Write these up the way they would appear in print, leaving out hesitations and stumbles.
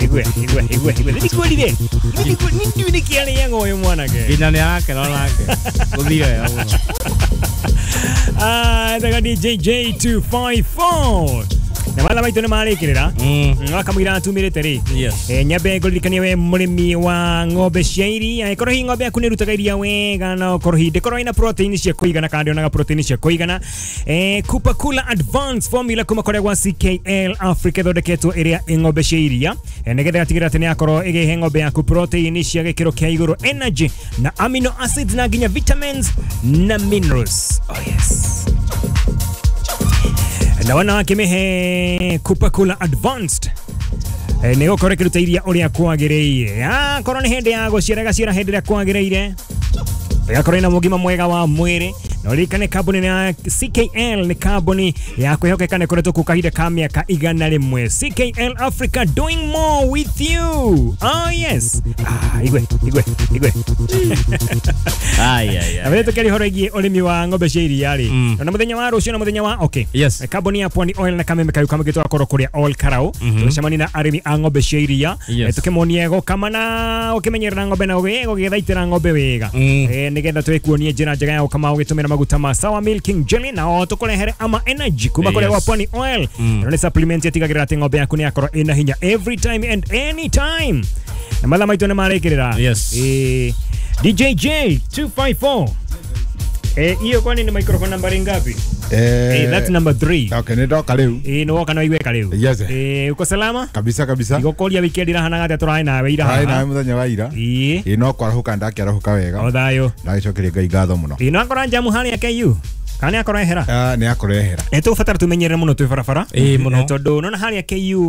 Igwe igwe igwe igwe ndikwĩrire ndiũ nĩkĩ arĩaga ũyũ mwanake. Nginya nĩ arakena onake. Gũthiĩ wega mũno. Ah, daga DJ J254 na mathaa maitũ nĩ marĩkĩrĩra wakamũira atumĩrĩte rĩ. Yes. Nyambe ngũririkanie we mũrĩmi wa ng'ombe cia iria, ĩkorwo hihi ng'ombe yaku nĩ ĩrutaga iria wega na ũkorwo hihi ndĩkorwo ĩna protein cia kũigana kana ndĩonaga protein cia kũigana, Coca-Cola Advanced Formula kuma kũrĩa gwa CKL Africa ĩthondeketwo ĩrĩa ĩ ng'ombe cia iria, nĩgetha ĩgatigĩrĩra atĩ nĩ yakorwo ĩgĩhe ng'ombe yaku protein cia gĩkĩro kĩa igũrũ, energy na amino acids na nginya vitamins na minerals. Oh yes. Na wanawake mehe Coca-Cola Advanced nä gå korwo ä kä ruta iria å rä a kwagä akorwo nä hä ndä ya gå ciara gaciara hä ndä ä rä a kwagä rä ire ĩgakorwo ĩna mũgima mwega wa mwĩrĩ. Na ũririkane kambuni ya CKL nĩ kambuni ya kwĩhokeka na ĩkoretwo kuo kahinda ka mĩaka 101. CKL Africa, doing more with you. Oh yes. Ah, igwe igwe igwe. Ai ai Na ai. mbere tũkĩaria ũhoro ĩgiĩ ũrĩmi wa ng'ombe cia iria rĩ, na mũthenya wa rũciũ na mũthenya wa okay. Yes. Kambuni ya Pwani Oil na kameme kayu kamwe tũgakorwo kũrĩa Oil Karau tũgĩcemania na arĩmi a ng'ombe cia iria. Yes. Tũkĩmonie gũkama na ũkĩmenyerera ng'ombe na ũgĩthaitĩra ng'ombe wega, nĩgetha twĩkuonie njĩra njega ya gũkama ũgĩtũmĩra maguta ma Sour Milking Jelly na o tũkũrehere ama energy kuma kũrĩa gwa Pwani Oil. Ĩno nĩ supplement ĩtigagĩrĩra atĩ ng'ombe yaku nĩ yakorwo ĩna hinya every time and any time. Na mathaa maitũ nĩ marĩkĩrĩra. Yes. DJ J 254. Hiyo kwani ni microphone nambari ngapi? That's number 3. Okay, nĩ ndoka rĩu. Nĩ woka no igweka rĩu. Yes. Uko salama? Kabisa kabisa. Igũkũria weekend irahanaga atĩa tũrarĩ nawe ira Harĩ haha? nawe mũthenya wa ira. Ĩĩ. Ĩĩ, no kwarahũka ndakĩarahũka wega. O thayũ. Ndagĩcokeria Ngai ngatho mũno. Ĩĩ, no akora njamu harĩa KU. Kana nĩ akorwo ehera? Ah, nĩ akorwo ehera. Nĩ tũgũbatara tũmenyerere mũno twĩ barabara. Ĩĩ, mũno. Tondũ nona harĩa KU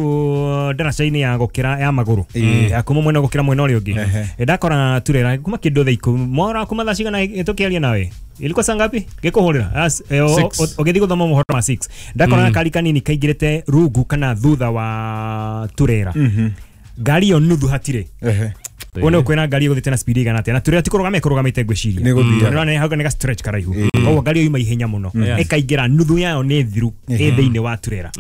ndaraca-inĩ ya gũkĩra ya magũrũ ya kuma mwena gũkĩra mwena ũrĩa ũngĩ. Ndakora turera kuma kĩndũ thaa ikũmi mora kuma thaa cigana tũkĩaria nawe ilikuwa saa ngapi ngĩkũhũrĩra? Six. Ũgĩthiĩ gũthoma mohoro ma 6 ndakora gakari kanini kaingĩrĩte rungu kana thutha wa turera, ngari ĩyo nuthu hatirĩ. Wone ũkwĩra ngari ĩgũthiĩte na speed igana atĩa na turera ti kũrũgama ĩkũrũgamĩte ngwĩciria. Nĩ gũthiaga. Nĩ ũrona hau nĩ ga stretch karaihu, koguo ngari ĩyo yuma ihenya mũno ĩkaingĩra nuthu yayo nĩ thiru ĩ thĩinĩ wa turera.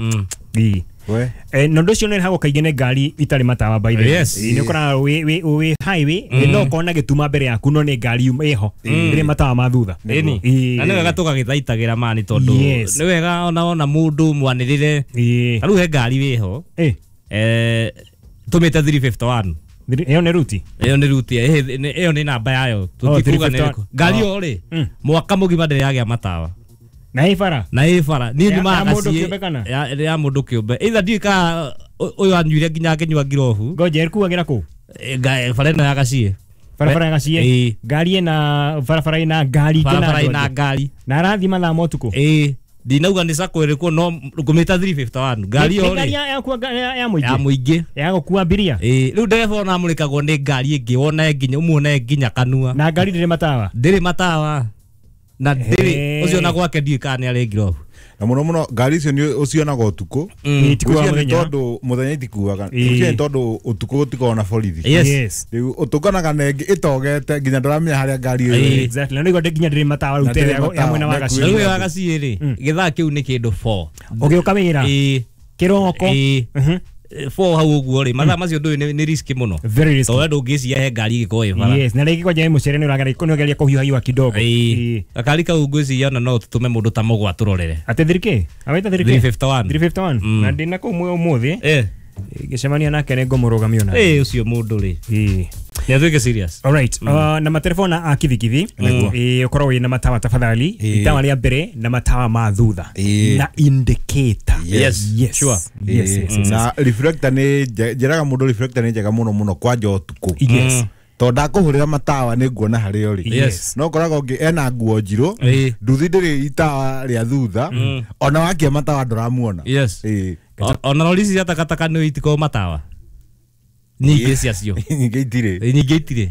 Ĩĩ. We. Na ũndũ ũcio nĩ ũrehagwo kaingĩ nĩ ngari itarĩ matawa by the way. Yes. Nĩ ũkoraga wĩ highway no ũkona gĩtuma mbere yaku no nĩ ngari yuma ĩho ĩrĩ matawa ma thutha. Ĩni. Ĩĩ. Na nĩ wega tũgagĩthaitagĩra mani tondũ Yes. nĩ wega ona wona mũndũ mwanĩrĩre. Ĩĩ. Ta rĩu he ngari wĩho Ĩ. Tũmĩte 351. Ĩyo nĩ ruti. Ĩyo nĩ ruti, ĩyo nĩ namba yayo. Tũtikuga nĩ 351. ĩrĩkũ. Ngari ĩyo rĩ, mwaka mũgima ndĩrĩ yagĩa matawa. Na ĩ bara. Na ĩ bara. Niĩ nyumaga Ya mũndũ Gaciĩ- kĩũmbe kana? Ya mũndũ kĩũmbe. Either ndiũĩ kana ũyũ anyuire nginya akĩnyua ngirobu. Ngoja ĩkuagĩra kũ? Bara ĩno ya Gaciĩ. Barabara ya Gaciĩ. Ĩĩ. Ngari ĩna barabara ĩna ngari ingĩ na Barabara andũ ĩna angĩ. ngari. Na arathiĩ mathaa ma ũtukũ. Ĩĩ. Ndinauga nĩ sacco ĩrĩkũ no ngũmĩta 351. Ngari Nĩ ĩyo ngari rĩ ya ya ya mũingĩ. mũingĩ. Ya gũkua abiria. Ĩĩ, rĩu ndereba ona amũrĩkagwo nĩ ngari ĩngĩ wone nginya ũmuone nginya kanua. Na ngari ndĩrĩ matawa. Ndĩrĩ matawa. Na ndĩrĩ Hey. ũcio ona gwake ndiũĩ kana nĩ arĩ ngirobu. Na mũno mũno ngari icio nĩ ũcionaga ũtukũ. Ĩĩ, itikuaga Ũcio nĩ mũthenya. tondũ mũthenya itikuaga. Ĩĩ. Ũcio nĩ tondũ ũtukũ gũtikoragwo na borithi. Yes. Yes. Rĩu ũtũnganaga na ĩngĩ ĩtogete nginya ndũramenya harĩa ngari ĩyo Ĩĩ. ĩrĩ. Exactly. Na nĩguo nginya ndĩrĩ matawa rĩu Na tere ndĩrĩ ya mwena wa matawa, Gaciĩ. Na rĩu ĩyo ya Gaciĩ rĩ, gĩthaa kĩu nĩ kĩndũ 4. Ũgĩũka wĩra. Ĩĩ. Kĩroko. Ĩĩ. 4 hau ũguo rĩ, mathaa macio ndũĩ nĩ risk mũno. Very risky. Tondũ we ndũngĩciria he ngari ĩgĩkorwo ĩ bara. Yes, na rĩngĩ kwanja mũcere nĩ ũrageria nĩ ũgeria kũhiũhahiũha kidogo. Ĩĩ. Ĩĩ. Gakari kau ngwĩciria ona no tũtũme mũndũ ta mũgwa tũrorere. Atĩ 3K? Awaita 3K? 351. 351. Na ndĩna kũu ũmũthĩ. Ngĩcemania nake nĩ ngũmũrũgamia ona. Ĩĩ, ũcio mũndũ rĩ. Ĩĩ. Nĩ atuĩke serious. Alright. Na materefona a kibikibi ũkorwo wĩna matawa tafadhali, itawa rĩa mbere na matawa ma thutha Ĩĩ. na indicator. Yes. Yes. Sure. Yes, yes, yes, Na reflector nĩ njĩraga mũndũ reflector nĩ njega mũno mũno kwanja ũtukũ. Yes. Tondũ ndakũhũrĩra matawa nĩ nguona harĩa ũrĩ. Yes. No ũkoraga ũngĩ ena nguo njirũ, Ĩĩ. nduthi ndĩrĩ itawa rĩa thutha, ona wakia matawa ndũramuona. Yes. Ĩĩ. Ona rori ici cia takataka nĩ itikoragwo matawa. Nyingĩ ciacio. Nyingĩ itirĩ. Nyingĩ itirĩ.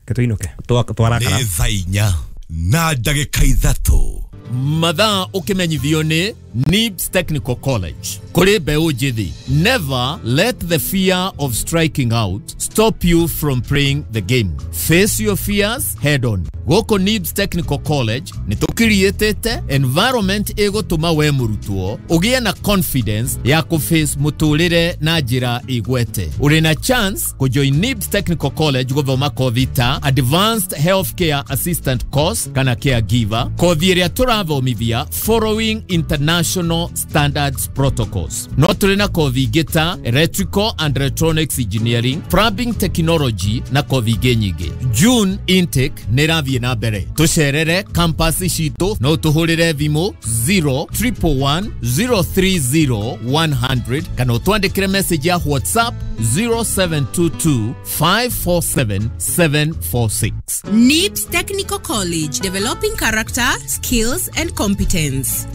Reke tũinũke. Twarakara. Nĩ thaa 4 na ndagĩka 3. Mathaa ũkĩmenyithio nĩ NIBS Technical College. Kũrĩ mbeũ njĩthĩ, never let the fear of striking out stop you from playing the game. Face your fears head on. Gũkũ NIBS Technical College nĩ tũkiriĩtĩte environment ĩgũtũma we mũrutwo ũgĩe na confidence ya kũface mũtũrĩre na njĩra ĩgwete. Ũrĩ na chance kũjoin NIBS Technical College gũthoma kothi ta Advanced Healthcare Assistant Course kana Caregiver, kothi ĩrĩa tũrathomithia following international standards protocols. No tũrĩ na kothi ingĩ ta Electrical and Electronics Engineering, Plumbing Technology na kothi ingĩ nyingĩ. June intake nĩ ĩrathiĩ na mbere. Tũcerere campus citũ no tũhũrĩre thimũ 0 111 030 100 kana ũtwandĩkĩre message ya WhatsApp 0722 547 746. NIBS Technical College, developing character, skills, and competence.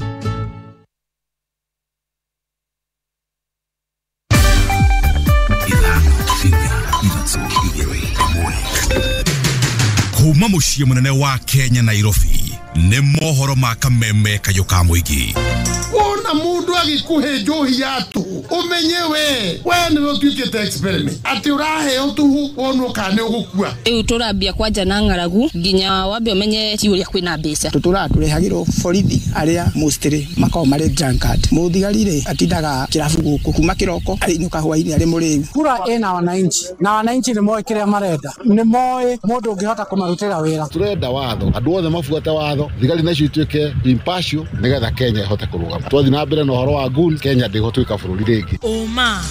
5, 4, 3, 2, 1. Kuma muciĩ mũnene wa Kenya, Nairobi, nĩ mohoro ma kameme kayũ ka mũingĩ. Wona mundu agikuhe njohi ya tuhu, umenye we niwe utuikite experiment ati uraheo tuhu wonwo kana ni ugukua. Rĩu tũrambia kwanja na ng'aragu nginya wambe ũmenye ti ũrĩa kwĩna mbeca. Tũtũraga tũrehagĩrwo borithi arĩa mostly makoragwo marĩ drunkard. Mũthigari rĩ atindaga kĩrabu gũkũ kuma kĩroko arĩinũka hwainĩ arĩ mũrĩu. Kura ĩna wananchi na wananchi nĩ moĩ kĩrĩa marenda, nĩ moĩ mũndũ ũngĩhota kũmarutĩra wĩra. Turenda watho, andũ othe mabuate watho, thigari nacio ituĩke impartial nĩgetha Kenya ĩhote kũrũgama. Twathiĩ na mbere na ũhoro wa goons, Kenya ndĩgũtuĩka bũrũri rĩngĩ. Ũma,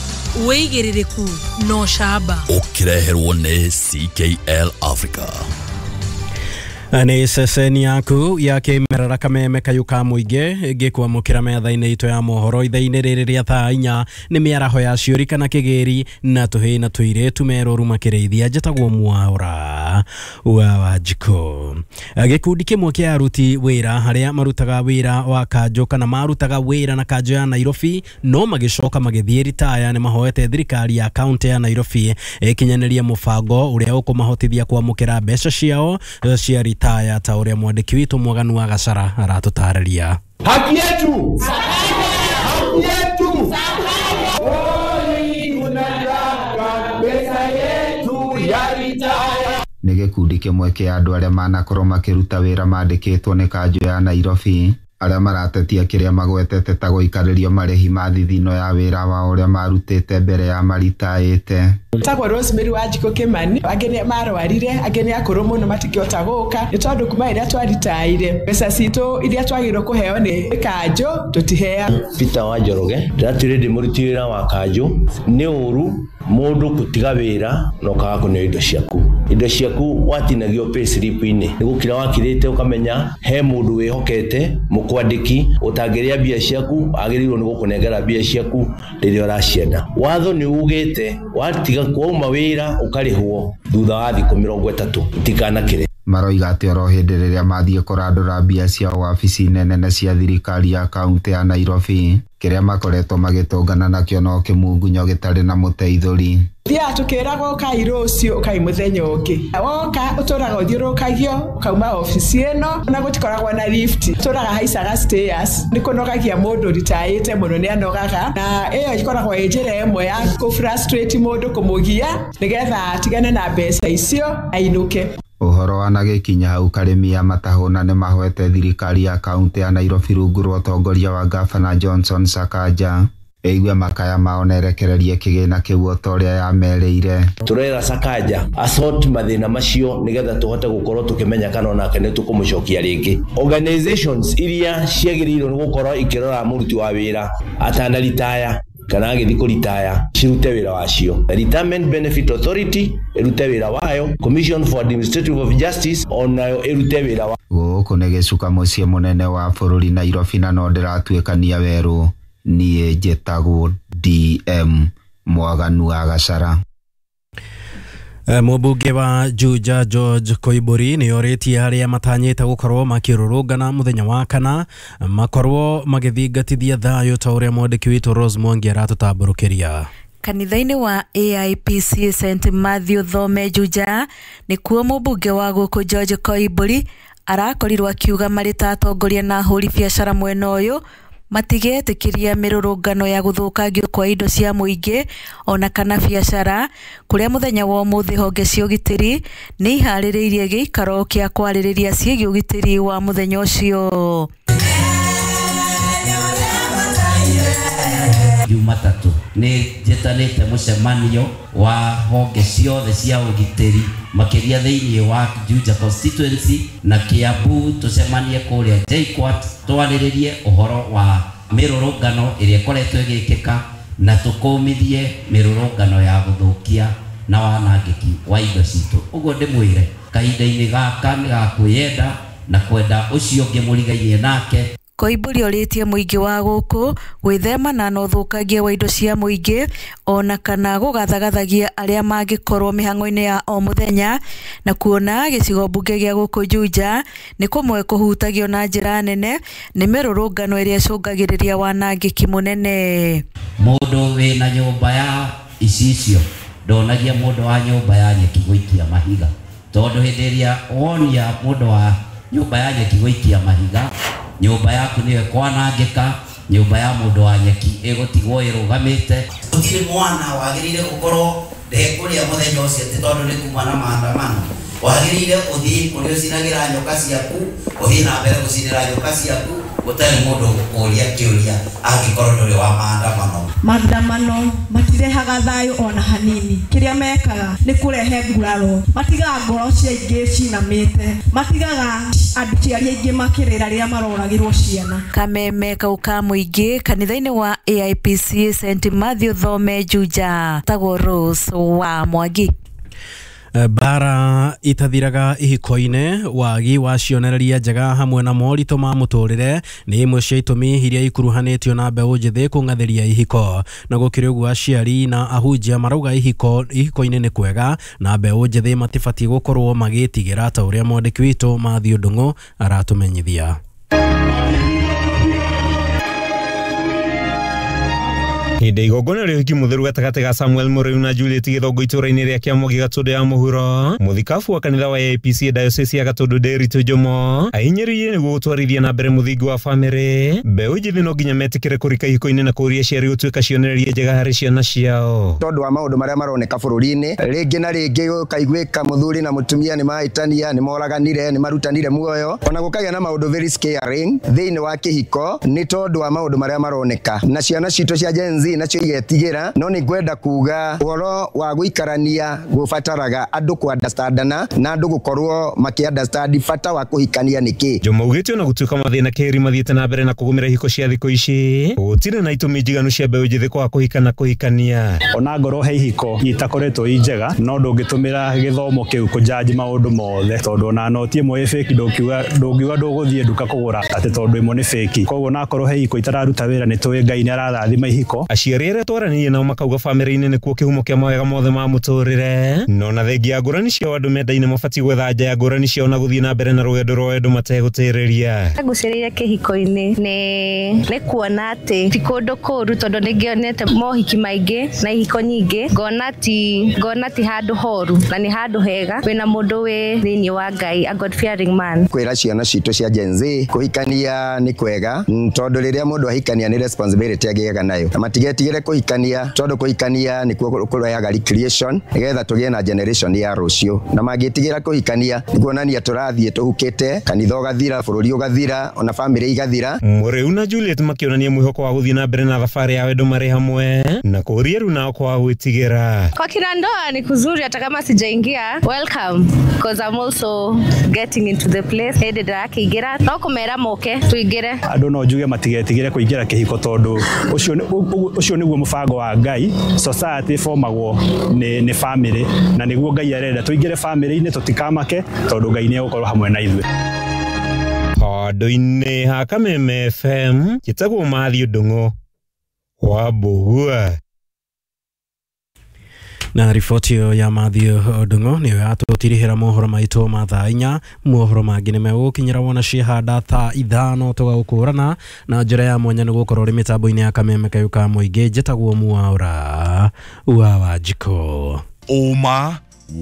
wĩigĩrĩrĩku na ũcamba. Ũkĩreherwo nĩ CKL Africa. Nĩ ceceni yaku ya kĩmerera kameme kayũ ka mũingĩ ngĩkwamũkĩra metha-inĩ itũ ya mohoro ithaa-inĩ rĩrĩ rĩa thaa 4. Nĩ mĩaraho ya ciũri kana kĩgĩri na tũhĩĩ na tũirĩtu merũru makĩrĩithia. Njĩtagwo Mwaũra wa Wanjikũ. Gĩkundi kĩmwe kĩa aruti wĩra harĩa marutaga wĩra wa kanjũ kana marutaga wĩra na kanjũ ya Nairobi no magĩcoka magĩthiĩ ritaya nĩ mahoete thirikari ya kaunti ya Nairobi ĩkinyanĩrie mũbango ũrĩa ũkũmahotithia kwamũkĩra mbeca ciao cia ritaya, ta ũrĩa mwandĩki witũ Mwaganu wa Gacara aratũtarĩria. Haki yetu! Haki yetu! Oi, unataka pesa yetu ya ritaya. Nĩ gĩkundi kĩmwe kĩa andũ arĩa manakorwo makĩruta wĩra mandĩkĩtwo nĩ kanjũ ya Nairobi arĩa maratetia kĩrĩa magwetete ta gũikarĩrio marĩhi ma thithino ya wĩra wao ũrĩa marutĩte mbere ya maritaĩte. Tagwo Rosemary Wanjikũ Kimani. Angĩ nĩ marwarire, angĩ nĩ akũrũ mũno matingĩhota gũka, nĩ tondũ kuma rĩrĩa twaritaire mbeca citũ iria twagĩrĩirwo kũheo nĩ kanjũ tũtiheagwo. Peter wa Njoroge, ndĩratuire ndĩ mũruti wĩra wa kanjũ. Nĩ ũru mũndũ gũtiga wĩra na ũkaga kũneo indo ciaku. Indo ciaku watinagio payslip-inĩ, nĩ gũkira wakirĩte ũkamenya he mũndũ wĩhokete mũkwandĩki ũtangĩrĩa mbia ciaku, agĩrĩirwo nĩ gũkũnengera mbia ciaku rĩrĩa ũracienda. Watho nĩ ugĩte watiga kwauma wĩra ũkarĩhwo thutha wa thikũ 30 itikanakĩre. Maroiga atĩ oro hĩndĩ rĩrĩa mathiĩ kũrandũra mbia ciao wabici-inĩ nene cia thirikari ya kaunti ya Nairobi, kĩrĩa makoretwo magĩtũngana nakĩo no kĩmungunyo gĩtarĩ na mũteithũri. Thiaga tũkĩragwo ũkai rũciũ, ũkai mũthenya ũngĩ. Woka ũtũraga ũthiũrũrũkagio ũkauma obici ĩno na gũtikoragwo na lift, tũraga haicaga stairs. Nĩ kũnogagia mũndũ ritaĩte mũno, nĩ anogaga, na ĩyo ĩkoragwo ĩ njĩra ĩmwe ya kũ frustrate mũndũ, kũmũgia nĩgetha atigane na mbeca icio ainũke. Ũhoro wanagĩkinya hau karĩmi ya matahũna nĩ mahoete thirikari ya kaunti ya Nairobi rungu rwa ũtongoria wa gavana Johnson Sakaja ĩigue makaya mao na ĩrekererie kĩgĩna kĩu o ta ũrĩa yamerĩire. Turera Sakaja asort mathĩna macio nĩgetha tũhote gũkorwo tũkĩmenya kana onake nĩ tũkũmũcokia rĩngĩ. Organizations iria ciagĩrĩirwo nĩ gũkorwo ikĩrora mũruti wa wĩra atanaritaya kana agĩthiĩ kũritaya cirute wĩra wacio. Retirement Benefit Authority ĩrute wĩra wayo, Commission for Administrative of Justice onayo ĩrute wĩra wa. Gũkũ nĩ gĩcuka mũciĩ mũnene wa bũrũri Nairobi na no ndĩratuĩkania werũ. Niĩ njĩtagwo DM Mwaganu wa Gacara. Mũmbunge wa Juja George Koimburi nĩ orĩtie arĩa matanyĩte gũkorwo makĩrũrũngana mũthenya wa kana makorwo magĩthingatithia thayũ, ta ũrĩa mwandĩki witũ Rose Mwangi aratũtambũrũkĩria. Kanitha-inĩ wa AIPC St Matthew Thome Juja nĩkuo mũmbunge wa gũkũ George Koimburi Arakorirwo akiuga marĩ ta atongoria na ahũri biacara mwena ũyũ matigetĩkĩria mĩrũrũngano ya gũthũkangio kwa indo cia mũingĩ ona kana biacara, kũrĩa mũthenya wa ũmũthĩ honge cia ũgitĩri nĩ iharĩrĩirie gĩikaro kĩa kwarĩrĩria ciĩgiĩ ũgitĩri wa mũthenya ũcio. Jumatatu nĩ njĩtanĩte mũcemanio wa honge ciothe cia ũgitĩri makĩria thĩinĩ wa Juja constituency na Kiambu, tũcemanie kũrĩa JKUAT twarĩrĩrie ũhoro wa mĩrũrũngano ĩrĩa ĩkoretwo ĩgĩkĩka na tũkũmithie mĩrũrũngano ya gũthũkia na wanangĩki wa indo citũ. Ũguo ndĩmwĩre kahinda-inĩ gaka nĩ ga kwĩyenda na kwenda ũcio ũngĩ mũrigainie nake. Koimbũri orĩtie mũingĩ wa gũkũ gwĩthemana na ũthũkangia wa indo cia mũingĩ ona kana gũgathagathagia arĩa mangĩkorwo mĩhang'o-inĩ ya o mũthenya, na kuona gĩcigo mbunge gĩa gũkũ Juja nĩ kũmwe kũhutagio na njĩra nene nĩ mĩrũrũngano ĩrĩa ĩcũngagĩrĩria wanangĩki mũnene. Mũndũ wĩna nyũmba ya icicio ndonagia mũndũ wa nyũmba ya nyeki gũikia mahiga, tondũ hĩndĩ ĩrĩa wonia mũndũ wa nyũmba ya nyeki gũikia mahiga, nyũmba yaku nĩyo ĩkwanangĩka, nyũmba ya mũndũ wa nyeki ĩgũtigwo ĩrũgamĩte. Gũtirĩ mwana wagĩrĩire gũkorwo ndekũrĩa mũthenya ũcio atĩ tondũ nĩ kuma na maandamano. Wagĩrĩire ũthiĩ kũrĩa ũcinagĩra nyoka ciaku, ũthiĩ na mbere gũcinĩra nyoka ciaku gũtarĩ mũndũ ũgũkũria kĩũria angĩkorwo ndũrĩ wa maandamano. Maandamano matirehaga thayũ ona hanini. Kĩrĩa mekaga nĩ kũrehe nguraro, matigaga ngoro cia aingĩ cinamĩte, matigaga aciari aingĩ makĩrĩra rĩrĩa maroragĩrwo ciana. Kameme kau ka mũingĩ kanitha-inĩ wa AIPCA St Matthew Thome Juja, tagwo Rose wa Mwangi. Bara itathiraga ihiko-inĩ, wagi wa cionereria njega hamwe na moritũ ma mũtũrĩre nĩ imwe cia itũmi iria ikuruhanĩtio na mbeũ njĩthĩ kũng'athĩria ihiko. Na gũkĩrĩ ũguo aciari na ahunjia marauga ihiko-inĩ nĩ kwega na mbeũ njĩthĩ matibatiĩ gũkorwo magĩtigĩra, ta ũrĩa mwandĩki witũ Matthew Ndung'u aratũmenyithia. Hĩndĩ igongona rĩa ũhiki mũtheru gatagatĩ ga Samuel Mũrĩu na Juliet Gĩthongo itũũra-inĩ rĩa Kĩamũgi Gatũndũ ya mũhuro, mũthikabu wa kanitha wa AIPCA Diocese ya Gatũndũ Nderitu Njomo ahinyĩrĩirie nĩguo gũtwarithia na mbere mũthingi wa bamĩrĩ. Mbeũ njĩthĩ no nginya metĩkĩre kũrika ihiko-inĩ na kũũria aciari gũtuĩka cionereria njega harĩ ciana ciao. Tondũ wa maũndũ marĩa maroneka bũrũri-inĩ, rĩngĩ na rĩngĩ gũkaiguĩka mũthuri na mũtumia nĩ mahĩtania, nĩ moraganire, nĩ marutanire muoyo, ona gũkagĩa na maũndũ very scaring thĩinĩ wa kĩhiko nĩ tondũ wa maũndũ marĩa maroneka, na ciana citũ cia Gen Z nacio igetigĩra. No nĩ ngwenda kuga ũhoro wa gũikarania gũbataraga andũ ku understandana na andũ gũkorwo makĩ understand bata wa kũhikania nĩkĩ. Njomo augĩte ona gũtuĩka mathĩna kĩrĩ mathiĩte na mbere na kũgũmĩra ihiko cia thikũ ici, gũtirĩ na itũmi njiganu cia mbeũ njĩthĩ kwaga kũhika na kũhikania. Ona ngorwo he ihiko itakoretwo i njega, no ndũngĩtũmĩra gĩthomo kĩu kũjudge maũndũ mothe, tondũ ona noti ĩmwe ĩ fake ndũngiuga ndũgũthiĩ nduka kũgũra atĩ tondũ ĩmwe nĩ fake. Koguo onakorwo he ihiko itararuta wĩra, nĩ tũĩ Ngai nĩ ararathima ihiko. Aciari arĩa twaranĩirie nao makauga bamĩrĩ-inĩ nĩkuo kĩhumo kĩa mawega mothe ma mũtũrĩre, no na thengia ya ngũrani ciao andũ mendaine mabatiĩ gwetha nja ya ngũrani ciao na gũthiĩ na mbere na rũgendo rwa wendo mategũtĩrĩria. Ngucĩrĩire kĩhiko-inĩ nĩ kuona atĩ ti kũndũ kũũru, tondũ nĩ ngĩonete mohiki maingĩ na ihiko nyingĩ, ngona ti handũ horu na nĩ handũ hega wĩna mũndũ wĩ thĩinĩ wa Ngai, a God fearing man. Kwĩra ciana citũ cia Gen Z kũhikania nĩ kwega, tondũ rĩrĩa mũndũ ahikania nĩ responsibility agĩaga nayo, na matigetigĩre kũhikania tondũ kũhikania nĩkuo kũrehaga recreation nĩgetha tũgĩe na generation ya rũciũ. Na mangĩtigĩra kũhikania nĩ kuonania tũrathiĩ tũhukĩte, kanitha ũgathira, bũrũri ũgathira, ona bamĩrĩ igathira. Mũrĩu na Juliet makĩonania mwĩhoko wa gũthiĩ na mbere na thabarĩ ya wendo marĩ hamwe na kũũria rĩu nao kwaga gwĩtigĩra. Kwa kina ndoa ni kuzuri, hata kama sijaingia, welcome, because I'm also getting into the place. Hĩndĩ ndĩrakĩingĩra no kũmera moke tũingĩre. Andũ no njuge matigetigĩre kũingĩra kĩhiko tondũ ũcio nĩguo mũbango wa Ngai. Society formagwo nĩ family, na nĩguo Ngai arenda tũingĩre family-inĩ, tũtikamake tondũ Ngai nĩ egũkorwo hamwe na ithuĩ. Handũ-inĩ ha Kameme FM njĩtagwo Matthew Ndung'u wa Mbũgua. Na riboti ĩyo ya Matthew Ndung'u nĩyo yatũtirihĩra mohoro maitũ ma thaa 4. Mohoro mangĩ nĩ megũgũkinyĩra wona ciĩhanda thaa 5 tũgagũkũrana na njĩra ya mwanya nĩ gũkorwo ũrĩ mĩtambo-inĩ ya Kameme kayũ ka mũingĩ. Njĩtagwo Mwaũra wa Wanjikũ. Ũma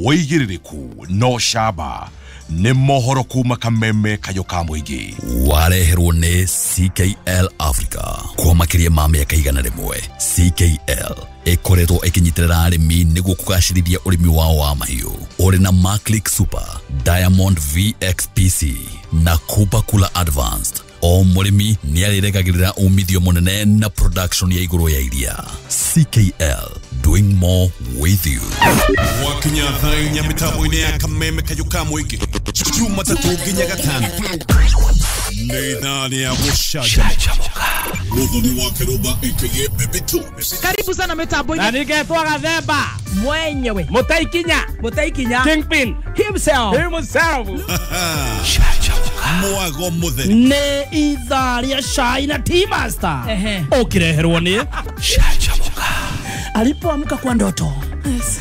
wĩigĩrĩrĩku no camba Nĩ mohoro kuma Kameme Kayũ ka Mũingĩ. Wareherwo nĩ CKL Africa kwa makĩria ma mĩaka 100. CKL ĩkoretwo ĩkĩnyitĩrĩra arĩmi nĩguo kũgacĩrithia ũrĩmi wao wa mahiũ. Ũrĩ na Maclick Super, Diamond VXPC na Kupa Kula Advanced. O mũrĩmi nĩ arĩregagĩrĩra umithio mũnene na production ya igũrũ ya iria. CKL, doing more with you. Wakinya thaa inya mĩtambo-inĩ ya Kameme Kayũ ka Mũingĩ, Jumatatũ nginya Gatano, nĩ ithaa rĩa gũcanjamũka. Mũthoni wa Kĩrũmba aka Baby Tunes. Karibu sana mitambo-inĩ. Na ningetwo Gathemba mwenyewe, Mũtaikinya Kingpin himself. Mwago mũtheri nĩ ithaa rĩa cai na tea master ũkĩreherwo nĩ Canjamũka. Alipoamka kwa ndoto, yes,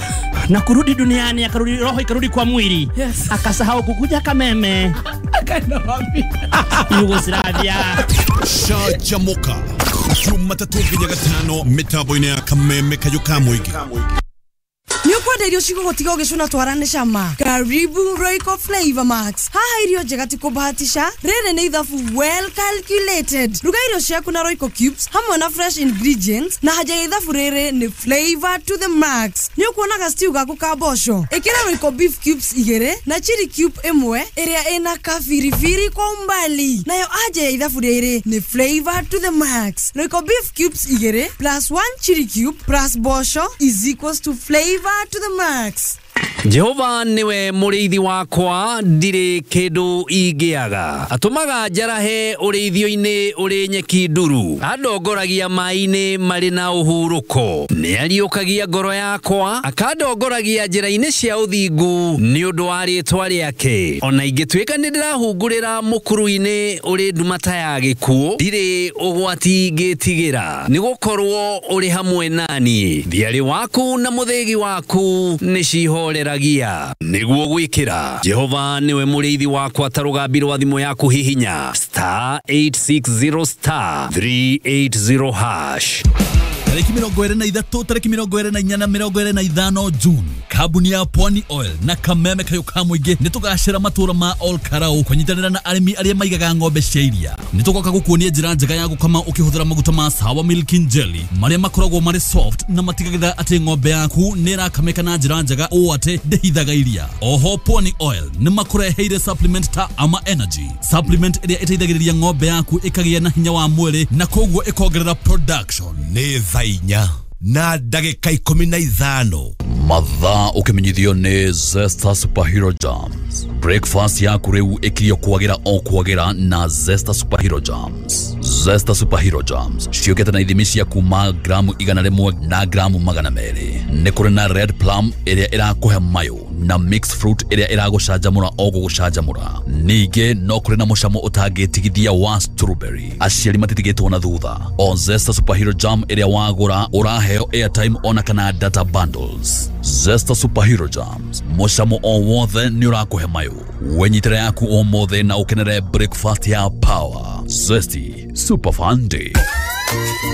na kurudi duniani, akarudi roho ikarudi kwa mwili, yes, akasahau kukuja Kameme, akaenda wapi? Yugoslavia. Canjamũka Jumatatũ nginya Gatano mĩtambo-inĩ ya Kameme Kayũ ka Mũingĩ. Nĩ ũkwenda irio cigũgũtiga ũgĩcũna twara nĩ cama? Karibu Royco Flavor Max. Haha irio njega ti kũbahatisha, rĩrĩ nĩ ithabu well calculated. Ruga irio ciaku na Royco Cubes hamwe na fresh ingredients, na haja ya ithabu rĩrĩ nĩ flavor to the max. Nĩ ũkuona ga stew gaku ka mboco, ĩkĩra Royco beef cubes 2 na chili cube 1 ĩrĩa ĩna kabiribiri kwa umbali. Nayo haja ya ithabu rĩrĩ nĩ flavor to the max. Royco beef cubes 2 plus 1 chili cube plus mboco is equals to flavor to the max. Jehova niwe mũrĩithi wakwa, ndirĩ kĩndũ ingĩaga. Atũmaga njarahe ũrĩithio-inĩ ũrĩ nyeki nduru, andongoragia maĩ-inĩ marĩ na ũhurũko. Nĩariũkagia ngoro yakwa, akandongoragia njĩra-inĩ cia ũthingu nĩ ũndũ wa rĩĩtwa rĩake. Ona ingĩtuĩka nĩndĩrahungurĩra mũkuru-inĩ ũrĩ nduma ta ya gĩkuũ, ndirĩ ũgwati ingĩtigĩra, nĩgũkorwo ũrĩ hamwe naniĩ. Thiarĩ waku na mũthĩgi waku nĩcihoreragia. Nĩguo gwĩkĩra Jehova niwe mũrĩithi wakwa ta rũgambi rwa thimũ yaku hihinya star 860 star 380 hash. Tarĩki 23, tarĩki 24 na 25 June, kambuni ya Pwani Oil na Kameme Kayũ ka Mũingĩ nĩ tũgacĩra matũra ma Ol Karau kũnyitanĩra na arĩmi arĩa maigaga ng'ombe cia iria. Nĩ tũgoka gũkuonia njĩra njega ya gũkama ũkĩhũthĩra maguta ma Sawa Milking Jelly marĩa makoragwo marĩ soft na matigagĩrĩra atĩ ng'ombe yaku nĩ ĩrakamĩka na njĩra njega ũũ atĩ ndĩhithaga iria. Oho Pwani Oil nĩ makũreheire supplement ta Ama Energy, supplement ĩrĩa ĩteithagĩrĩria ng'ombe yaku ĩkagĩa na hinya wa mwĩrĩ na koguo ĩkongerera production. Nĩ thaa inya na ndagĩka 15. Mathaa ũkĩmenyithio nĩ Zesta Superhero Jams. Breakfast yaku rĩu ĩkirio kwagĩra o kwagĩra na Zesta Superhero Jams. Zesta Superhero Jams ciũkĩte na ithimi cia kuma gramu 100 na gramu 200. Nĩ kũrĩ na red plum ĩrĩa ĩrakũhe mayũ na mixed fruit ĩrĩa ĩragũcanjamũra o gũgũcanjamũra. Ningĩ no kũrĩ na mũcamo ũtangĩtigithia wa strawberry. Aciari matitigĩtwo na thutha. O Zesta Superhero Jam ĩrĩa wagũra ũraheo airtime ona kana data bundles. Zesta Superhero Jams, mũcamo o wothe nĩ ũrakũhe mayũ. Wenyitĩra yaku ũmũthĩ na ũkenere breakfast ya power. Zesty Super Fun Day.